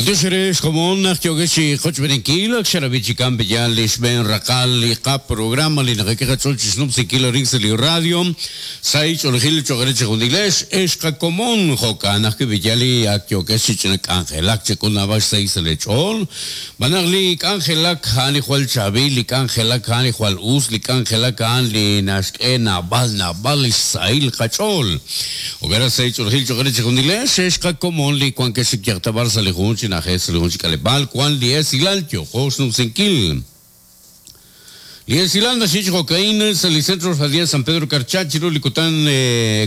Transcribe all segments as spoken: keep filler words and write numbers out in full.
Bantiox komon naq yokex qochb'eninkil ak xarabi chikan b'yal li xb'een raqal li qa programa li naqak'e qach'ool chi xnub'sinkil arin sa' li radio sa' ch'oolejil cho'q re chixjunilex ex qakomon jo'kan ajwi' b'yal li ak yokex chi ch'ina k'anjelak chek'ul naab'al xsahil sa' li ch'ool b'anaq li k'anjelak a'an li jwal chaab'il li k'anjelak a'an li jwal us li k'anjelak a'an li naxk'e naab'al naab'al li xsahil qach'ool jo'kan sa' ch'oolejil cho'q re chixjunilex ex qakomon li wankex yaqtab'ar sa' li jun chi na'ajej sa' li jun chi k'aleb'aal wan li esilal yo'qo xnub'sinkil. Li esilal naxich jo'kain sa' li Centro Radial San Pedro Carchá chiru li kutan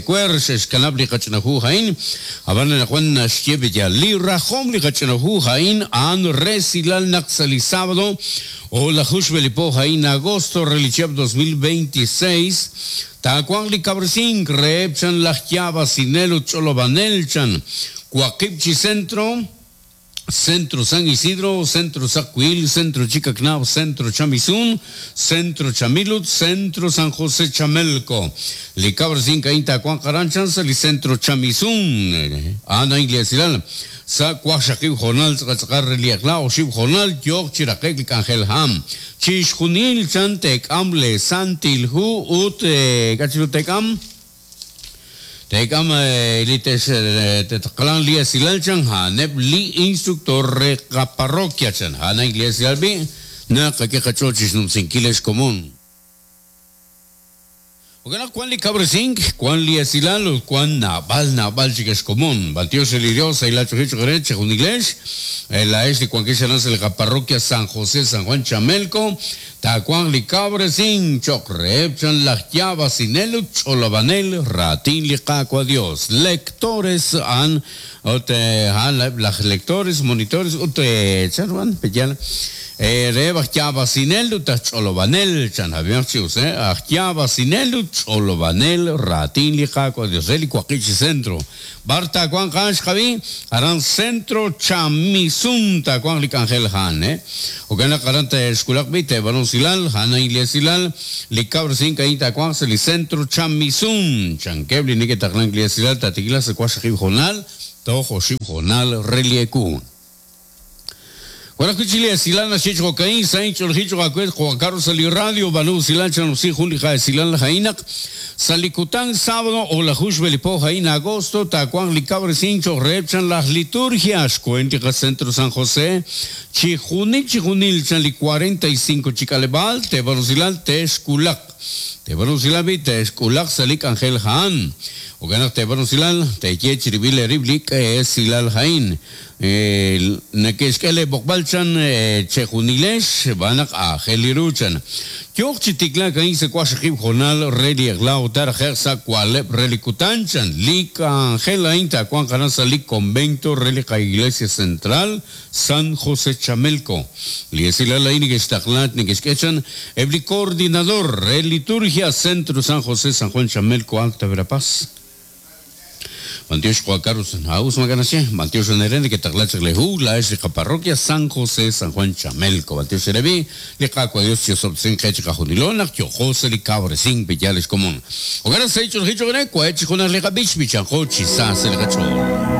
kuer xe'xkanab' li qach'inahu ha'in ab'an anaqwan naxye b'yal li rajom li qach'inahu ha'in a'an resilal naq sa' li sábado o la juxb'elipo ha'in agosto re li chihab' dos mil veintiséis taawanq li kab'resink reheb' chan laj yaab'asinel ut ch'olob'anel chan waqib' chi centro Centro San Isidro, Centro Sacuil, Centro Chicacnab, Centro Chamizún, Centro Chamilut, Centro San José Chamelco. Li kab'resink a'in taawanq aran chan sa' li Centro Chamizún. Ana Iglesia sa' waqxaqib' jornal tz'aqatz'aqal re li eq'la oxib' jornal yooq chi raqe'k li k'anjel ham. Chixjunil chan teek'am le Santil Hu ut k'achiru teek'am? Teek'am li tetaqlan li esilal chan ha'aneb' li instructor re qaparroquia chan ha'an Iglesia b'i naqak'e qach'ool chi xnumsinkil ex komon. Jo'kan naq wan li kab'resink, wan li esilal ut wan naab'al naab'al chik ex komon. B'antiox li Dios ahí la ch'oji choq' re chixjunilex la ex li wankex aran sa' li qaparroquia San José San Juan Chamelco taawanq li kab'resink choq' reheb' chan laj yaab'asinel ut ch'olob'anel raatin li Qaawa' Dios. Lectores a'an ut a'an laj lectores, monitores ut chan wan peyal reheb' aj yaab'asinel ut aj ch'olob'anel chan Javier Chius, aj yaab'asinel ut ch'olob'anel raatin li Qaawa' Dios re li waqib' chi centro. B'ar taawanq a'an xqab'i aran Centro Chamizún taawanq li k'anjel ha'an, eh. Jo'kan naq aran te'xkulaq b'i te'b'anu silal, ha'an Iglesia li kab'resink a'in taawanq sa' li Centro Chamizún. Chankeb' li neke'taqlank Iglesia tatikila sa' waqxaqib' jornal toj oxib' jornal re li eku. Bueno, kuchili esilal naxich jokain sain ch'olji ch'oqakuet Juan Carlos sali radio banu silal chanusi jun li esilal jainaq salikutan sábado o la juxbelipo jain agosto takuan li kabresin cho'reb chan las liturgias cuentica Centro San José chijunil chijunil chan li cuarenta y cinco chikalebal te banusilal te esculak te banusilal bi te esculak salik Ángel Jan o ganak te banusilal te yechribil eriblik esilal jain nekexk'ele b'oqb'al chan chejunilex b'anaq ajel iruchan yo'q chi tiklak a'in sa' waqxaqib' jornal re li eq'la utar je'q sa' kualeb' re li kutan chan li k'anjel a'in taawanq aran sa' li convento re li qa Iglesia Central San José Chamelco li esilal a'in nekextaqla nekexk'e chan eb' li coordinador re liturgia Centro San José San Juan Chamelco Alta Verapaz. Bantiox Juan Carlos Haus Maganache, Bantiox Nerene que taqlach lehu, la es la parroquia San José San Juan Chamelco, Bantiox Erebi, li qaqua Dios Yosobsin Qech Qajunilona, Yo José li Cabresin Pillales Común. Hogar se hecho el hicho greco, hecho con la bich bichanjo, chisas el gacho.